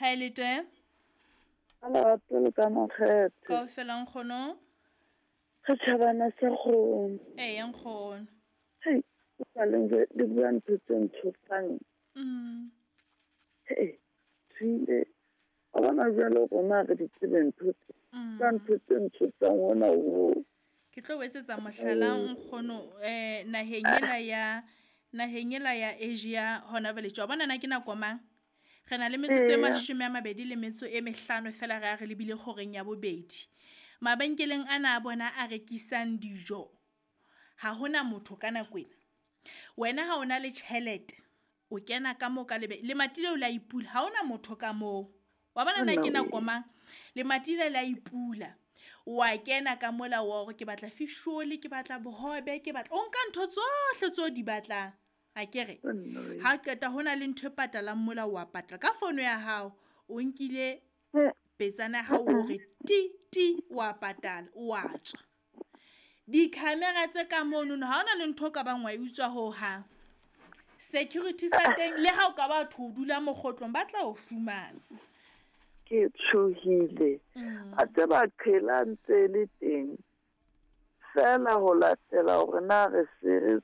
Haelete. Ka lerato le ka makgethe. Kaofela nkgono. Setjhabana sa kgomo. Eya nkgono. Hei, o sa le ntse di bua ntho tse ntshosang. Hei, tswile. Wa bona jwale rona re di tsebe ntho tse. Ka ntho tse ntshosang hona ho. Ke tlo o etsetsa mohlala nkgono naheng ela ya naheng ela ya Asia hona jwale tje. Wa bona na ke nako mang? Re na le metsotso e 25 feela re a re lebile horeng ya bobedi. Mabenkeleng ana a bona a rekisang dijo. Ha hona motho ka nako ena. Wena ha o na le tjhelete, o kena ka moo ka lebe lemati leo la ipula, ha hona motho ka moo. Wa bona na ke nako mang? Lemati le la ipula. Wa kena ka mola wa hore ke batla fish roll, ke batla bohobe, ke batla o nka ntho tsohle tseo di batlang. Akere ha qeta hona le ntho e patalang mola wa patala ka fono ya hao, o nkile petsana ya hao hore ti ti wa patala wa tswa. Di-camera tse ka mono ha hona le ntho o ka bang wa e utswa ho hang. Security sa teng le ha o ka ba thwe o dula mokgotlong ba tla o fumana. Ke tshohile. A tseba qhela ntse le teng. Fela ho latela hore na re se re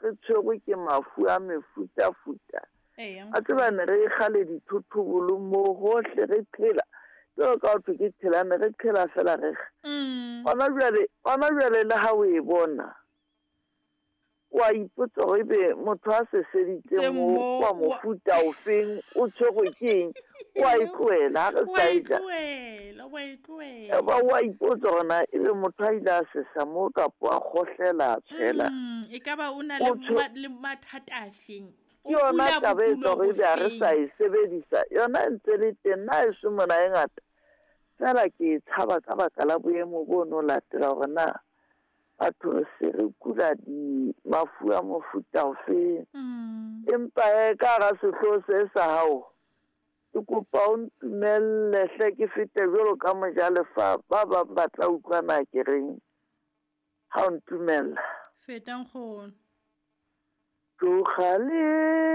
re tshwerwe ke mafu a mefutafuta. A tseba ne re kgale dithothobolo mo hohle re qhela. Jwalo ka ho thwe ke qhela ne re qhela fela re. Hona jwale le ha o e bona. Wa ipotsa hore ebe motho a seseditse mo wa mofuta o feng o tshwerwe ke eng, wa e tlohela ha re sa e ja. Wa e tlohela. Ba wa ipotsa hore na ebe motho a ile a sesa mo kapa a kgohlela a tshela. E ka ba o na le mathata a feng? Ke yona taba e etsa hore ebe ha re sa e sebedisa. Yona e ntse le teng, nna heso mona e ngata. Feela ke e tshaba ka baka la boemo bo no latela hore na batho re se re kula di mafu a mofuta ofe. Empa ka hara sehlooho se sa hao, ke kopa o ntumelle hle ke fete jwalo ka mojalefa ba bang ba tla utlwa na ke reng ha o ntumella. Feta nkgono. Tloga le